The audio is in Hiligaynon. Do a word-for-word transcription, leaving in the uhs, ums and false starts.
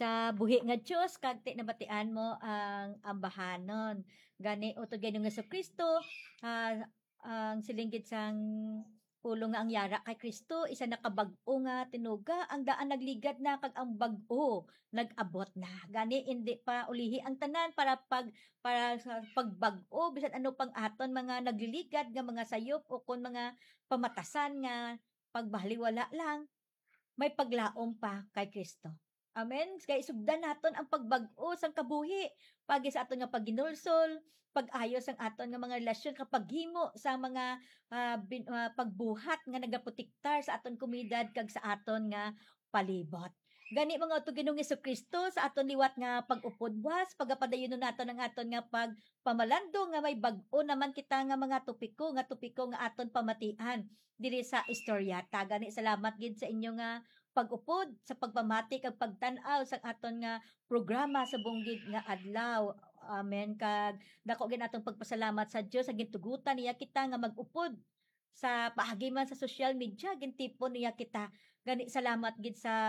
sa buhi nga Dios, kag ti nabatian mo ang ambahanon. Gani, utod kay Ginoong Jesu-Cristo, ah, ang siling gid sang pulong nga ang yara kay Cristo, isa na ka bag-o nga tinuga, ang daan nagligad na, kag ang bag-o nag-abot na. Gani, indi pa ulihi ang tanan para pag-, para sa pagbag-o, bisan ano pang aton mga nagliligad nga mga sayop o kon mga pamatasan nga pagbaliwala lang, may paglaom pa kay Cristo. Amen. Kay sugdan naton ang pagbag-o sang kabuhi, pagi sa aton nga paghinulsol, pag-ayo sang aton nga mga relasyon, kag paghimo sa mga, ah, bin-, ah, pagbuhat nga nagaprotektar sa aton komunidad kag sa aton nga palibot. Gani, mga utod kay Ginoong Jesu-Cristo, sa aton liwat nga pag-upod buas, pagapadayonon naton ang aton nga pagpamalando nga may bag-o naman kita nga mga topiko, nga topiko nga aton pamatian diri sa istorya ta. Gani, salamat gid sa inyo nga pag-upod, sa pagpamati kag pagtan-aw sa aton nga programa sa subong gid nga adlaw. Amen. Kag dako gid atong pagpasalamat sa Dios sa gintugutan niya kita nga mag-upod sa paagi man sa social media, gintipon niya kita. Gani, salamat gid sa